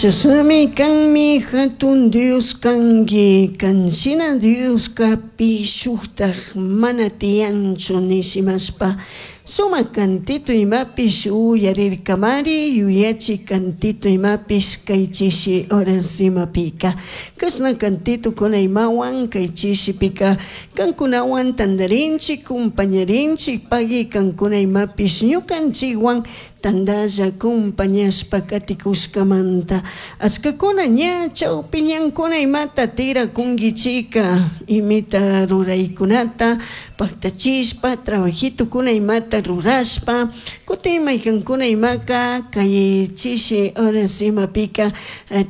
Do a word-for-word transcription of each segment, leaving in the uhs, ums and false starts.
Chashnami kanmi hatun Dios kanki, kan shina Dioska pi shuktak mana tiyanchu nishimashpa sumak kantito imapish uyarirkamari yuyachi kantito imapish kay chishi horas imapika kashna kantitokuna imawan kay chishipika kankunawan tantarinchik kumpañarinchik pagui kankuna imapish ñukanchikwan tantalla kumpañashpa katikushkamanta achkakuna ña chawpi ñankuna imata tirakunkichika imita ruraykunata paktachishpa trabajitukuna imata rurashpa kutin maykankuna imaka kay chishi horas imapika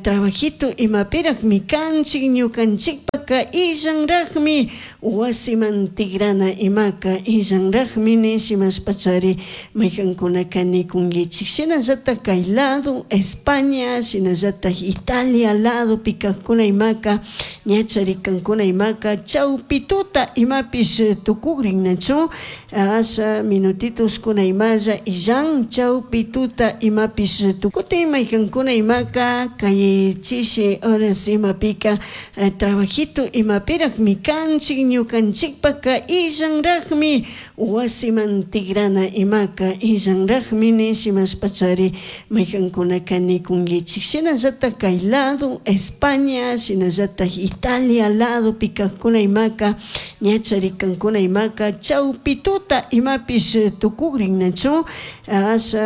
trabajito imapirakmi kanchik ñukanchikpaka illanrakmi wasiman tigrana imaka illanrakmi nishimashpachari maykankunaka nikunkichik shinallatak kay lado España shinallatak Italia ladopi kakkuna imaka ñachari kankuna imaka chawpi tuta imapish tukukrinnachu asha minutitoskuna imalla illan chawpi tuta imapish kutin maykankuna imaka kay chishi horas imapika trabajito imapirakmi kanchik ñukanchikpaka illanrakmi wasiman tigrana imaka illanrakmi nishimashpachari maykankunaka nikunkichik shinallatak kay lado España shinallatak Italia ladopi kakkuna imaka ñachari kankuna imaka chawpi tuta imapish tukukrinnachu asha.